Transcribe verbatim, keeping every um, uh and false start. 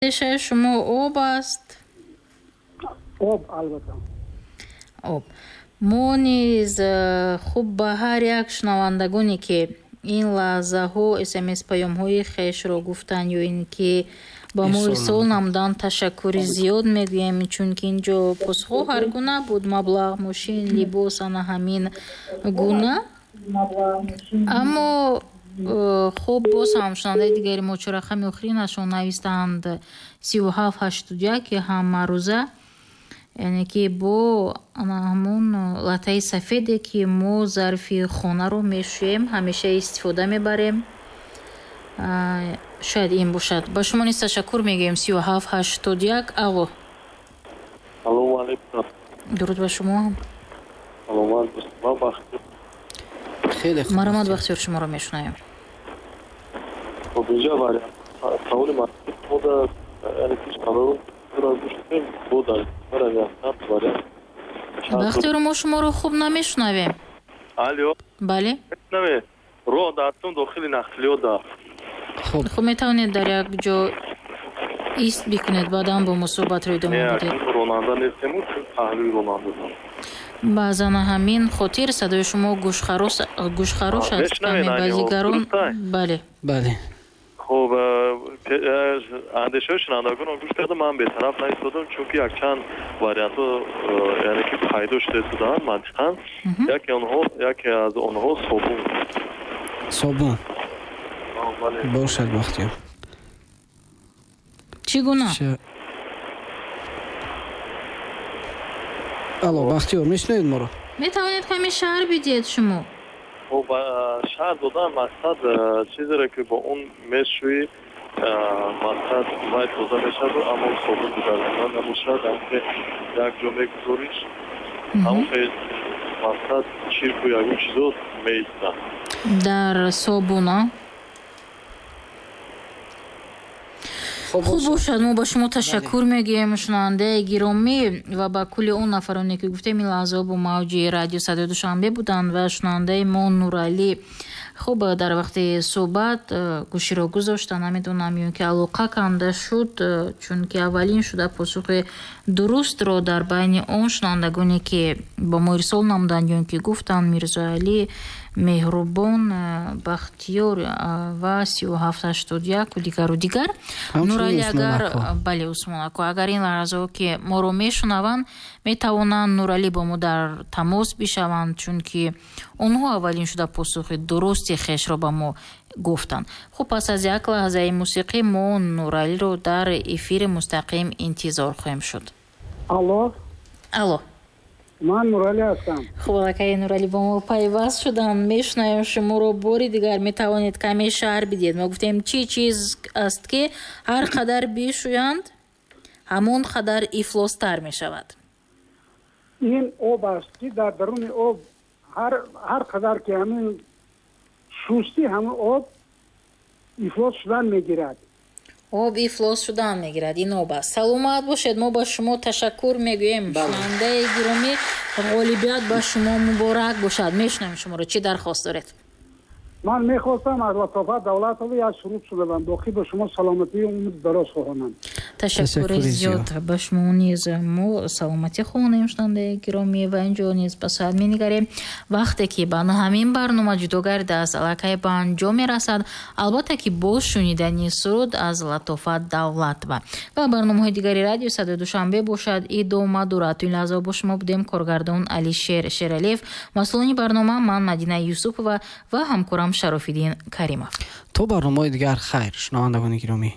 Андешаи шумо об аст? Об, албатта. Об. Мо низ, хуб, ба ҳар як шунавандагоне, ки ин лаҳзаҳо смс паёмҳои хешро гуфтанд ё ин ки ба мо ирсол намуданд, ташаккури зиёд мегӯем, чунки ин ҷо посухҳо ҳар гуна буд: маблағ, мошин, либос, ана ҳамин гуна. Аммо хуб, боз ҳам шунавандаи дигари мо, чор рақами охиринашон навистанд сиву ҳафт ҳаштоду як, ки ҳамарӯза, яъне ки бо ҳамон латтаи сафеде, ки мо зарфи хонаро мешӯем, ҳамеша истифода мебарем, шояд ин бошад. Ба шумо низ ташаккур мегӯем. Сиву ҳафт ҳаштоду як. Алло. Салому алейкум. Дуруд ба шумо. Саломат. Ман Бахтиёр. Хеле хуб. Марҳамат, Бахтиёр, шуморо мешунавем. Хуб, инҷа вариант саволи мода, яъне ки шунавандагон гӯш кунем, бо дар вариант. Бахтиёр, мо шуморо хуб намешунавем. Алло. Бале. Мешунавед? Роҳ дастум, дохили нақлиёт да. Хуб. Хуб, метавонед дар як ҷо ист бикунед, баъдан бо мо суҳбатро идома бидиҳед. Ронанда нестему, чун паҳлӯи ронанда. Баъзан ҳамин хотир садои шумо гӯшхарош аст каме базигарон. Бале. Бале. Хуб, андешаҳои шунавандагонро гӯш кардам, ман бетараф наистодам, чунки якчанд вариантҳо, яъне ки пайдо шуда буданд мантиқан. Яке онҳо, яке аз онҳо собун. Собун бошад, Бахтиёр. Чӣ гуна? Алло, Бахтиёр, мешунавед моро? Метавонед каме шарҳ бидиҳед шумо? Хуб, шарҳ додан мақсад, чизеро ки бо он мешӯӣ, мақсад вай тоза мешавад, аммо собун дигаргуна набошад, ки як ҷо мегузориш, ҳамон мақсад чирку ягон чизо меистад. Дар собуна. Хуб бошад, мо ба шумо ташаккур мегӯем, шунавандаи гиромӣ, ва ба кулли он нафароне, ки гуфтем, ин лаҳзаҳо бо мавҷи радио Садои Душанбе буданд. Ва шунавандаи мо Нуралӣ, хуб, дар вақти суҳбат э, гӯширо гузошта, намедонам, ё ки алоқа канда шуд, э, чунки аввалин шуда посухи дурустро дар байни он шунавандагоне, ки ба мо ирсол намуданд ё ки гуфтанд, Мирзоалӣ, Меҳрубон, э, Бахтиёр ва сию ҳафт ҳаштоду яку дигару дигар. Нуралӣ, агар, бале, Усмон ако, агар ин лаҳзаҳо ки моро мешунаванд, метавонанд, Нуралӣ, бо мо дар тамос бишаванд, чунки онҳо аввалин шуда посухи дурусти хешро ба мо гуфтанд. Хуб, пас аз як лаҳзаи мусиқӣ мо Нуралиро дар эфири мустақим интизор хоҳем шуд. Алло. Алло. Ман Нуралӣ ҳастам. Хуб, аллакай Нуралӣ бо мо пайваст шуданд, мешунавем шуморо бори дигар. Метавонед каме шарҳ бидиҳед? Мо гуфтем, чӣ чиз аст, ки ҳар қадар бишӯянд, ҳамон қадар ифлостар мешавад? Ин об аст, ки дар даруни об ҳар қадар ки ҳамин шустӣ, ҳамин об ифлос шудан мегирад. Об ифлос шудан мегирад, ин об аст. Саломат бошед, мо ба шумо ташаккур мегӯем, шунавандаи гиромӣ. Ғолибият ба шумо муборак бошад. Мешунавем шуморо, чӣ дархост доред? Ман мехостам аз Латофат Давлатова як суруд шунавам. Боқӣ ба шумо саломатии умри дароз хоҳонам. Ташаккури зиёд, ба шумо низ мо саломатӣ хоҳонем, шунавандаи гиромӣ. Ва инҷо низ ба соат менигарем. Вақте ки ба ҳамин барнома ҷудо гардидааст, аллакай ба анҷом мерасад, албатта ки бо шунидани суруд аз Латофат Давлатова. Ва барномаҳои дигари радио Садои Душанбе бошад, идома дорад. То ин лаҳза бо шумо будем коргардон Алишер Шералиев, масъулони барнома ман, Мадина Юсупова, ва ҳамкорам Шарофиддин Каримов. То барномаҳои дигар хайр, шунавандагони гиромӣ.